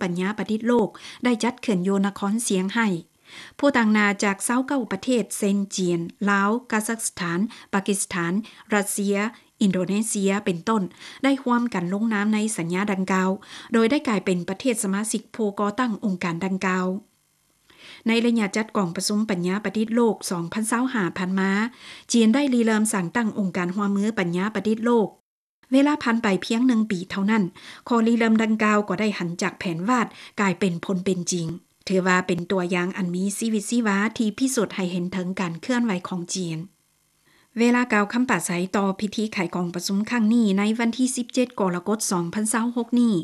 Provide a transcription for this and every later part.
ປັນຍາປະດິດໂລກ ໄດ້ຈັດຂຶ້ນຢູ່ນະຄອນຊຽງໄຮ້. ຜູ້ຕາງໜ້າຈາກຊາວເກົ້າປະເທດ ເຊັ່ນ ຈີນ, ລາວ, ກາຊາກສະຖານ, ປາກິສຖານ, ຣັດເຊຍ, ອິນໂດເນເຊຍ ເປັນຕົ້ນ ໄດ້ຮ່ວມກັນລົງນາມໃນສັນຍາດັ່ງກ່າວ ໂດຍໄດ້ກາຍເປັນປະເທດສະມາຊິກຜູ້ກໍ່ຕັ້ງອົງການດັ່ງກ່າວ. ໃນໄລຍະຈັດກອງປະຊຸມປັນຍາປະດິດໂລກ ສອງພັນຊາວຫ້າ ຜ່ານມາ, ຈີນໄດ້ລິເລີ່ມສ້າງຕັ້ງອົງການຮ່ວມມືປັນຍາປະດິດໂລກ. ເວລາຜ່ານໄປພຽງໜຶ່ງປີເທົ່ານັ້ນ, ຂໍ້ລິເລີ່ມດັ່ງກ່າວກໍໄດ້ຫັນຈາກແຜນວາດກາຍເປັນຜົນເປັນຈິງ, ຖືວ່າເປັນຕົວຢ່າງອັນມີຊີວິດຊີວາທີ່ພິສູດໃຫ້ເຫັນເຖິງການເຄື່ອນໄຫວຂອງຈີນ. ເວລາກ່າວຄຳປາໄສຕໍ່ພິທີໄຂກອງປະຊຸມຄັ້ງນີ້ໃນວັນທີສິບເຈັດ ກໍລະກົດ ສອງພັນຊາວຫົກນີ້,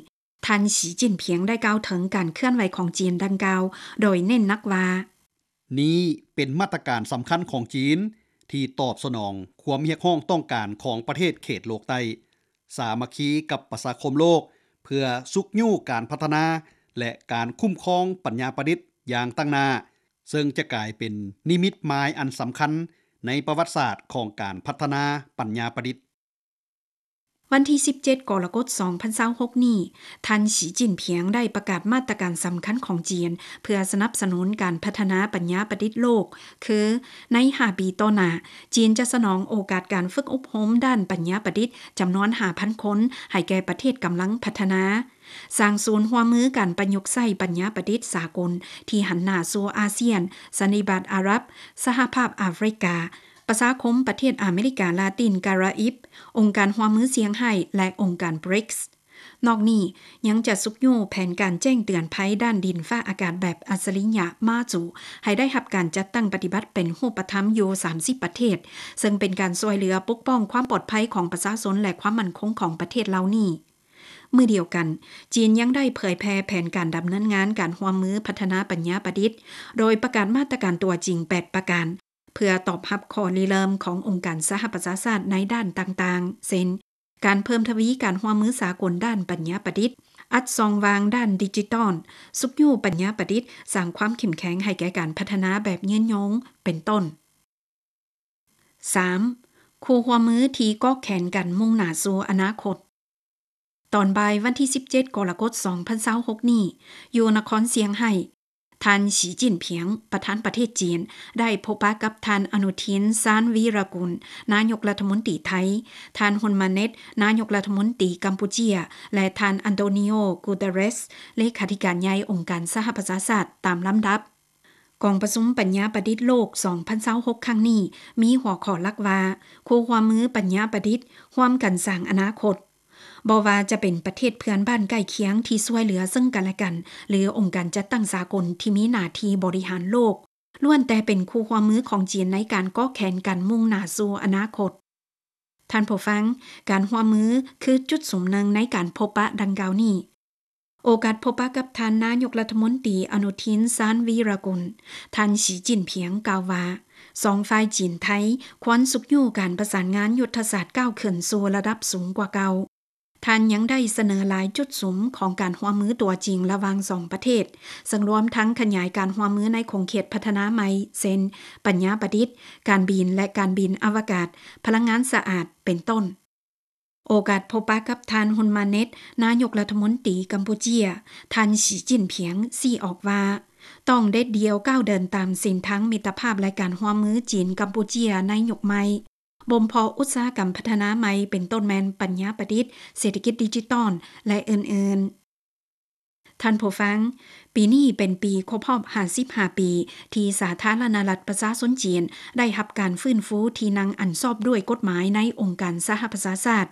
ທ່ານ ສີ ຈິ້ນຜິງ ໄດ້ກ່າວເຖິງການເຄື່ອນໄຫວຂອງຈີນດັ່ງກ່າວ ໂດຍເນັ້ນໜັກວ່າ, ນີ້ເປັນມາດຕະການສຳຄັນຂອງຈີນ ທີ່ຕອບສະໜອງຄວາມຮຽກຮ້ອງຕ້ອງການຂອງປະເທດເຂດໂລກໃຕ້, ສາມັກຄີກັບປະຊາຄົມໂລກ ເພື່ອຊຸກຍູ້ການພັດທະນາ ແລະ ການຄຸ້ມຄອງປັນຍາປະດິດຢ່າງຕັ້ງໜ້າ, ເຊິ່ງຈະກາຍເປັນນິມິດໝາຍອັນສຳຄັນໃນປະຫວັດສາດຂອງການພັດທະນາປັນຍາປະດິດ. ວັນທີສິບເຈັດ ກໍລະກົດ ສອງພັນຊາວຫົກນີ້, ທ່ານ ສີ ຈິ້ນຜິງ ໄດ້ປະກາດມາດຕະການສຳຄັນຂອງຈີນ ເພື່ອສະໜັບສະໜູນການພັດທະນາປັນຍາປະດິດໂລກ, ຄື ໃນຫ້າປີຕໍ່ໜ້າ, ຈີນຈະສະໜອງໂອກາດການຝຶກອົບຮົມດ້ານປັນຍາປະດິດຈຳນວນຫ້າພັນຄົນ ໃຫ້ແກ່ປະເທດກຳລັງພັດທະນາ, ສ້າງສູນຮ່ວມມືການປະຍຸກໃຊ້ປັນຍາປະດິດສາກົນທີ່ຫັນໜ້າສູ່ອາຊຽນ, ສັນນິບາດອາຣັບ, ສະຫະພາບອາຟຣິກາ, ປະຊາຄົມປະເທດອາເມລິກາລາຕິນກາຣາອິບ, ອົງການຮ່ວມມືຊຽງໄຮ້ ແລະ ອົງການ ບຣິກສ໌. ນອກນີ້, ຍັງຈະຊຸກຍູ້ແຜນການແຈ້ງເຕືອນໄພດ້ານດິນຟ້າອາກາດແບບອັດສະລິຍະ ມາຈູ ໃຫ້ໄດ້ຮັບການຈັດຕັ້ງປະຕິບັດເປັນຮູບປະທຳຢູ່ສາມສິບປະເທດ, ເຊິ່ງເປັນການຊ່ວຍເຫຼືອປົກປ້ອງຄວາມປອດໄພຂອງປະຊາຊົນ ແລະ ຄວາມໝັ້ນຄົງຂອງປະເທດເຫຼົ່ານີ້. ມື້ດຽວກັນ, ຈີນຍັງໄດ້ເຜີຍແຜ່ແຜນການດຳເນີນງານການຮ່ວມມືພັດທະນາປັນຍາປະດິດ, ໂດຍປະກາດມາດຕະການຕົວຈິງແປດປະການ, ເພື່ອຕອບຮັບຂໍ້ລິເລີ່ມຂອງອົງການສະຫະປະຊາຊາດໃນດ້ານຕ່າງໆ ເຊັ່ນ ການເພີ່ມທະວີການຮ່ວມມືສາກົນດ້ານປັນຍາປະດິດ, ອັດຊ່ອງວ່າງດ້ານດິຈິຕອນ, ຊຸກຍູ້ປັນຍາປະດິດ, ສ້າງຄວາມເຂັ້ມແຂງໃຫ້ແກ່ການພັດທະນາແບບຍືນຍົງ ເປັນຕົ້ນ. ສາມ. ຄູ່ຮ່ວມມືທີ່ກອກແຂນກັນມຸ່ງໜ້າສູ່ອະນາຄົດ. ຕອນບ່າຍວັນທີສິບເຈັດ ກໍລະກົດ ສອງພັນຊາວຫົກນີ້, ຢູ່ນະຄອນຊຽງໄຮ້, ທ່ານ ສີ ຈິ້ນຜິງ ປະທານປະເທດຈີນ ໄດ້ພົບປະກັບທ່ານ ອະນຸທິນ ຊານວີຣະກຸນ ນາຍົກລັດຖະມົນຕີໄທ, ທ່ານ ຮຸນມາເນັດ ນາຍົກລັດຖະມົນຕີກຳປູເຈຍ ແລະ ທ່ານ ອັນໂຕນີໂອ ກູເຕເຣສ ເລຂາທິການໃຫຍ່ອົງການສະຫະປະຊາຊາດ ຕາມລຳດັບ. ກອງປະຊຸມປັນຍາປະດິດໂລກ ສອງພັນຊາວຫົກ ຄັ້ງນີ້ ມີຫົວຂໍ້ຫຼັກວ່າ ຄູ່ຮ່ວມມືປັນຍາປະດິດ ຮ່ວມກັນສ້າງອະນາຄົດ. ບໍ່ວ່າຈະເປັນປະເທດເພື່ອນບ້ານໃກ້ຄຽງທີ່ຊ່ວຍເຫຼືອເຊິ່ງກັນແລະກັນ ຫຼື ອົງການຈັດຕັ້ງສາກົນທີ່ມີໜ້າທີ່ບໍລິຫານໂລກ, ລ້ວນແຕ່ເປັນຄູ່ຮ່ວມມືຂອງຈີນໃນການກອກແຂນກັນມຸ່ງໜ້າສູ່ອະນາຄົດ. ທ່ານຜູ້ຟັງ, ການຮ່ວມມືຄືຈຸດສຸມໜຶ່ງໃນການພົບປະດັ່ງກ່າວນີ້. ໂອກາດພົບປະກັບທ່ານນາຍົກລັດຖະມົນຕີ ອະນຸທິນ ຊານວີຣະກຸນ, ທ່ານ ສີ ຈິ້ນຜິງ ກ່າວວ່າ, ສອງຝ່າຍຈີນ-ໄທ ຄວນຊຸກຍູ້ການປະສານງານຍຸດທະສາດກ້າວຂຶ້ນສູ່ລະດັບສູງກວ່າເກົ່າ. ທ່ານຍັງໄດ້ສະເໜີຫຼາຍຈຸດສຸມຂອງການຮ່ວມມືຕົວຈິງລະຫວ່າງສອງປະເທດ, ເຊິ່ງລວມທັງຂະຫຍາຍການຮ່ວມມືໃນຂົງເຂດພັດທະນາໃໝ່, ເຊັ່ນ ປັນຍາປະດິດ, ການບິນ ແລະ ການບິນອະວະກາດ, ພະລັງງານສະອາດ ເປັນຕົ້ນ. ໂອກາດພົບປະກັບທ່ານ ຮຸນມາເນັດ ນາຍົກລັດຖະມົນຕີກຳປູເຈຍ, ທ່ານ ສີ ຈິ້ນຜິງ ຊີ້ອອກວ່າ, ຕ້ອງເດັດດ່ຽວກ້າວເດີນຕາມເສັ້ນທາງມິດຕະພາບ ແລະ ການຮ່ວມມືຈີນ-ກຳປູເຈຍໃນຍຸກໃໝ່, ບົ່ມເພາະອຸດສາຫະກຳພັດທະນາໃໝ່ ເປັນຕົ້ນແມ່ນປັນຍາປະດິດ, ເສດຖະກິດດິຈິຕອນ ແລະ ອື່ນໆ. ທ່ານຜູ້ຟັງ, ປີນີ້ເປັນປີຄົບຮອບຫ້າສິບຫ້າປີ ທີ່ສາທາລະນະລັດປະຊາຊົນຈີນໄດ້ຮັບການຟື້ນຟູທີ່ນັ່ງອັນຊອບດ້ວຍກົດໝາຍໃນອົງການສະຫະປະຊາຊາດ.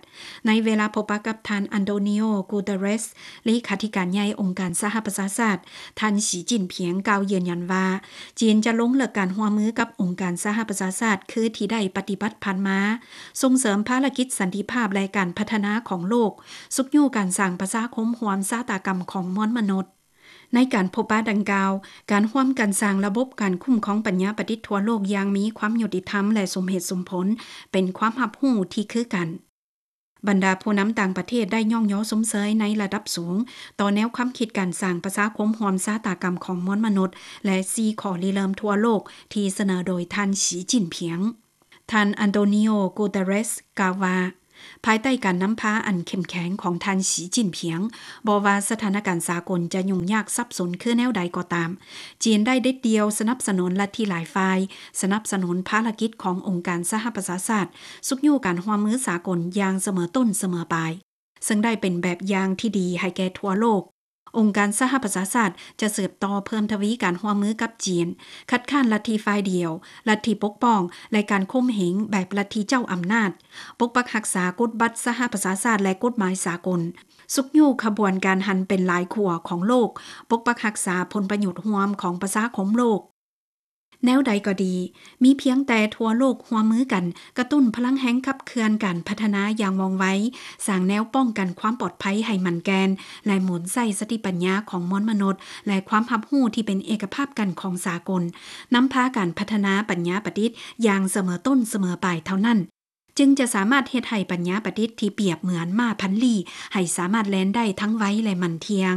ໃນເວລາພົບປະກັບທ່ານ ອັນໂຕນີໂອ ກູເຕເຣສ ເລຂາທິການໃຫຍ່ອົງການສະຫະປະຊາຊາດ, ທ່ານ ສີ ຈິ້ນຜິງ ກ່າວຢືນຢັນວ່າ, ຈີນຈະລົງເລິກການຮ່ວມມືກັບອົງການສະຫະປະຊາຊາດ ຄືທີ່ໄດ້ປະຕິບັດຜ່ານມາ, ສົ່ງເສີມພາລະກິດສັນຕິພາບ ແລະ ການພັດທະນາຂອງໂລກ, ຊຸກຍູ້ການສ້າງປະຊາຄົມຮ່ວມຊະຕາກຳຂອງມວນມະນຸດ. ໃນການພົບປະດັ່ງກ່າວ, ການຮ່ວມກັນສ້າງລະບົບການຄຸ້ມຄອງປັນຍາປະດິດທົ່ວໂລກຢ່າງມີຄວາມຍຸຕິທຳ ແລະ ສົມເຫດສົມຜົນ ເປັນຄວາມຮັບຮູ້ທີ່ຄືກັນ. ບັນດາຜູ້ນຳຕ່າງປະເທດໄດ້ຍ້ອງຍໍຊົມເຊີຍໃນລະດັບສູງຕໍ່ແນວຄວາມຄິດການສ້າງປະຊາຄົມຮ່ວມຊະຕາກຳຂອງມວນມະນຸດ ແລະ ສີ່ຂໍ້ລິເລີ່ມທົ່ວໂລກທີ່ສະເໜີໂດຍທ່ານ ສີ ຈິ້ນຜິງ. ທ່ານ ອັນໂຕນີໂອ ກູເຕເຣສ ກ່າວວ່າ, ພາຍໃຕ້ການນຳພາອັນເຂັ້ມແຂງຂອງທ່ານ ສີ ຈິ້ນຜິງ, ບໍ່ວ່າສະຖານະການສາກົນຈະຫຍຸ້ງຍາກສັບສົນຄືແນວໃດກໍຕາມ, ຈີນໄດ້ເດັດດ່ຽວສະໜັບສະໜູນລັດທິຫຼາຍຝ່າຍ, ສະໜັບສະໜູນພາລະກິດຂອງອົງການສະຫະປະຊາຊາດ, ຊຸກຍູ້ການຮ່ວມມືສາກົນຢ່າງສະເໝີຕົ້ນສະເໝີປາຍ, ເຊິ່ງໄດ້ເປັນແບບຢ່າງທີ່ດີໃຫ້ແກ່ທົ່ວໂລກ. ອົງການສະຫະປະຊາຊາດຈະສືບຕໍ່ເພີ່ມທະວີການຮ່ວມມືກັບຈີນ, ຄັດຄ້ານລັດທິຝ່າຍດຽວ, ລັດທິປົກປ້ອງ ແລະ ການຂົ່ມເຫງແບບລັດທິເຈົ້າອຳນາດ, ປົກປັກຮັກສາກົດບັດສະຫະປະຊາຊາດ ແລະ ກົດໝາຍສາກົນ, ຊຸກຍູ້ຂະບວນການຫັນເປັນຫຼາຍຂົ້ວຂອງໂລກ, ປົກປັກຮັກສາຜົນປະໂຫຍດຮ່ວມຂອງປະຊາຄົມໂລກ. ແນວໃດກໍດີ, ມີພຽງແຕ່ທົ່ວໂລກຮ່ວມມືກັນກະຕຸ້ນພະລັງແຮງຂັບເຄື່ອນການພັດທະນາຢ່າງວ່ອງໄວ, ສ້າງແນວປ້ອງກັນຄວາມປອດໄພໃຫ້ໝັ້ນແກ່ນ ແລະ ໝູນໃຊ້ສະຕິປັນຍາຂອງມວນມະນຸດ ແລະ ຄວາມຮັບຮູ້ທີ່ເປັນເອກະພາບກັນຂອງສາກົນ, ນຳພາການພັດທະນາປັນຍາປະດິດຢ່າງສະເໝີຕົ້ນສະເໝີປາຍເທົ່ານັ້ນ, ຈຶ່ງຈະສາມາດເຮັດໃຫ້ປັນຍາປະດິດທີ່ປຽບເໝືອນມ້າພັນລີ້ ໃຫ້ສາມາດແລ່ນໄດ້ທັງໄວ ແລະ ໝັ້ນທ່ຽງ.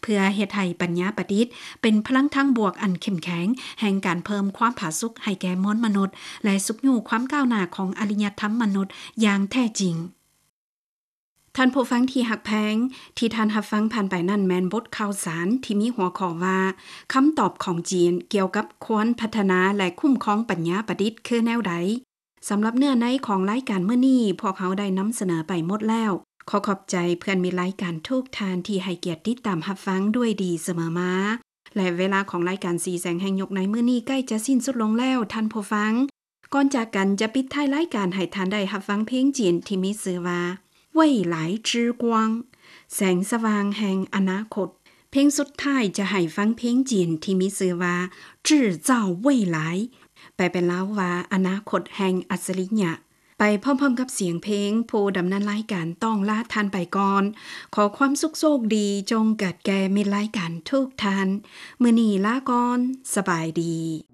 ເພື່ອເຮັດໃຫ້ປັນຍາປະດິດເປັນພະລັງທາງບວກອັນເຂັ້ມແຂງ ແຫ່ງການເພີ່ມຄວາມຜາສຸກໃຫ້ແກ່ມວນມະນຸດ ແລະ ຊຸກຍູ້ຄວາມກ້າວໜ້າຂອງອາລິຍະທຳມະນຸດຢ່າງແທ້ຈິງ. ທ່ານຜູ້ຟັງທີ່ຮັກແພງ, ທີ່ທ່ານຮັບຟັງຜ່ານໄປນັ້ນແມ່ນບົດຂ່າວສານທີ່ມີຫົວຂໍ້ວ່າ ຄຳຕອບຂອງຈີນກ່ຽວກັບຄວາມພັດທະນາ ແລະ ຄຸ້ມຄອງປັນຍາປະດິດຄືແນວໃດ? ສຳລັບເນື້ອໃນຂອງລາຍການມື້ນີ້, ພວກເຮົາໄດ້ນຳສະເໜີໄປໝົດແລ້ວ. ຂໍຂອບໃຈເພື່ອນມິດລາຍການທຸກທ່ານທີ່ໃຫ້ກຽດຕິດຕາມຮັບຟັງດ້ວຍດີສະເໝີມາ ແລະ ເວລາຂອງລາຍການສີແສງແຫ່ງຍຸກໃນມື້ນີ້ໃກ້ຈະສິ້ນສຸດລົງແລ້ວ, ທ່ານຜູ້ຟັງ. ກ່ອນຈາກກັນຈະປິດທ້າຍລາຍການໃຫ້ທ່ານໄດ້ຮັບຟັງເພງຈີນທີ່ມີຊື່ວ່າ 未来之光 ແສງສະຫວ່າງແຫ່ງອະນາຄົດ. ເພງສຸດທ້າຍຈະໃຫ້ຟັງເພງຈີນທີ່ມີຊື່ວ່າ 制造未来 ແປເປັນລາວວ່າ ອະນາຄົດແຫ່ງອັດສະລິຍະ. ໄປພ້ອມໆກັບສຽງເພງ, ຜູ້ດຳເນີນລາຍການຕ້ອງລາທ່ານໄປກ່ອນ. ຂໍຄວາມສຸກໂຊກດີຈົ່ງເກີດແກ່ມິດລາຍການທຸກທ່ານ. ມື້ນີ້ລາກ່ອນ, ສະບາຍດີ.